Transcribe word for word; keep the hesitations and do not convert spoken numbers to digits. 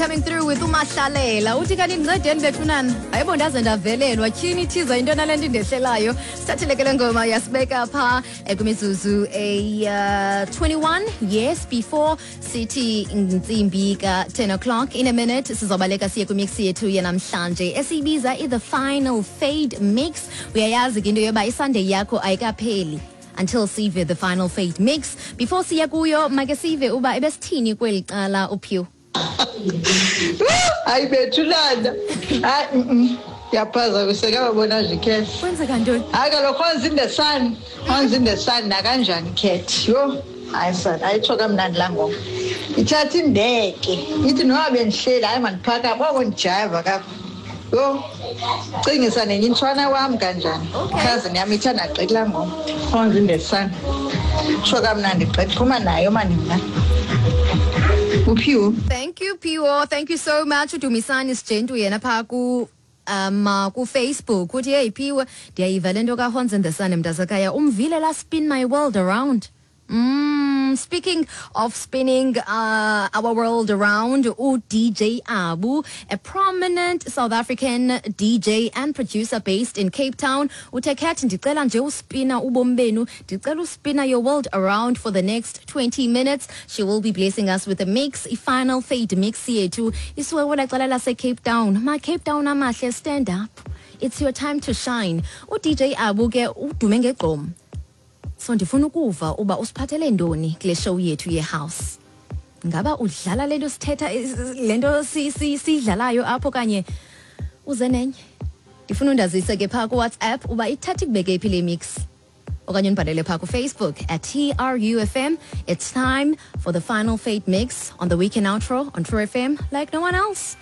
coming through with uMahlalela. Uthi kanti ndincedeni bethunana. Hayibo, ndaze ndavelelwa. Tyhini, ithiza into nale nto indehlelayo. Sithathile ke le ngoma, yasibeka pha eh, kwimizuzu eyi twenty-one, yes, before sithi intsimbi ka ten o'clock. In a minute sizobaleka siye kwimix yethu yanamhlanje esiyibiza i-The Final Fade Mix. Uyayazi ke into yoba iSunday yakho ayikapheli until sive The Final Fade Mix. Before siya kuyo, make sive uba ebesithini kweli cala uphiw. Hayi bethunana, hayi, mm, ndiyaphazamiseka babona nje ikhethi. Kwenzeka ntoni? Hayi kaloku, Horns in the Sun, Horns in the Sun nakanjani, khethi. Yho, hayi sana, ayitsho kamnandi laa ngoma. Ithatha indeke ithi noba bendihleli, hayi mandiphakame oko ndijayiva kapha. Yho, cingisa nenye intshwana wam kanjani. Okay. Cousin yam ithanda gqithi laa ngoma, Horns in the Sun. Tsho kamnandi gqithi, phuma nayo mani mna. Uphiwo. Thank you, Piwo. Thank you so much. Udumisani Sijentu yena phaa ku um uh, ku-Facebook uthi, "Hey Phiwe, ndiyayiva le nto kaHorns in the Sun, mntasekhaya. Umvile la 'Spin My World Around'?" Mm, speaking of spinning uh, our world around, U D J Abu, a prominent South African D J and producer based in Cape Town, uthe, "Cat, ndicela nje uspina ubomi benu, ndicela uspina your world around for the next twenty minutes." She will be blessing us with a mix, i Final Fade Mix yethu. Isuke kwela cala lase Cape Town. Ma Cape Town amahle, stand up. It's your time to shine. U D J Abu ke udume ngegqom. So ndifuna ukuva uba usiphathele ntoni kule show yethu ye-house. Ngaba udlala lento sithetha lento si- si- siyidlalayo apho kanye uze nenye? Ndifuna undazise ke phaa kuWhatsApp uba ithatha ikubeke phi le mix, okanye undibhalele phaa kuFacebook at T R U F M. It's time for The Final Fade Mix on the Weekend Outro on True F M, like no one else.